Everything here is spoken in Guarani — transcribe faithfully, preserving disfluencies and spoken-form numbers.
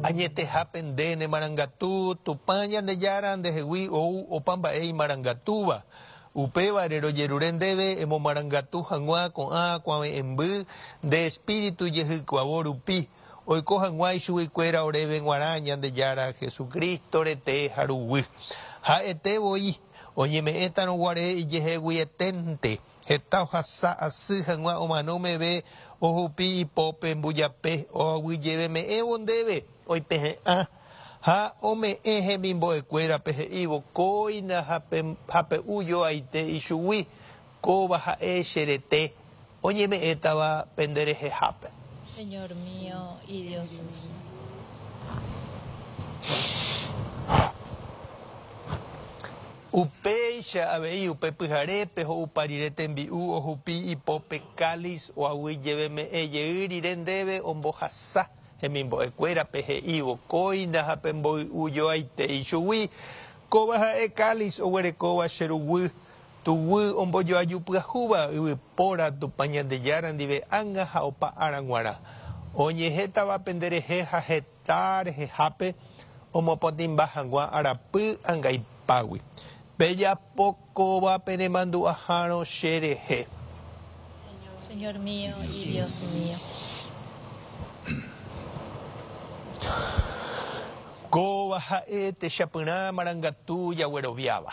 Añetehápe nde nemarangatu, Tupã Ñandejára ndehegui ou opa mba'e imarangatúva. Upévare rojerure ndéve emomarangatu hag̃ua ko'ã kuave'ẽmby nde espíritu jehykuavo rupi, oiko hag̃ua ichuguikuéra oréve g̃uarã Ñandejára Jesucristo rete ha ruguy. Ha'ete voi oñeme'ẽtarõ guare ijeheguieténte, heta ohasa asy hag̃ua omano meve ohupi ipópe mbujape oaguyjeveme'ẽvo ndéve oipehe'ã ha ome'ẽ hemimbo'ekuérape he'ívo kóina ha pe'u joaite ichugui kóva ha'e che rete oñeme'ẽtava penderehehápe. Señor mío y Dios mío. Upéicha avei upe pyharépe ho'upa rire tembi'u ohupi ipópe cáliz oaguyjeveme'ẽ jey rire ndéve ombohasa hemimbo'ekuérape he'ívo kóina ha pemboy'u joaite ichugui kóva ha'e cáliz oguerekóva che ruguy tuguy ombojoaju pyahúva yvypóra Tupã Ñandejára ndive ág̃a ha opa ára g̃uarã oñehétava penderehe ha heta rehehápe omopotĩmba hag̃ua arapy angaipágui. Pejapo kóva penemandu'ahárõ che rehe. Señor mío y Dios mío. Kóva ha'e techapyrã marangatu jagueroviáva.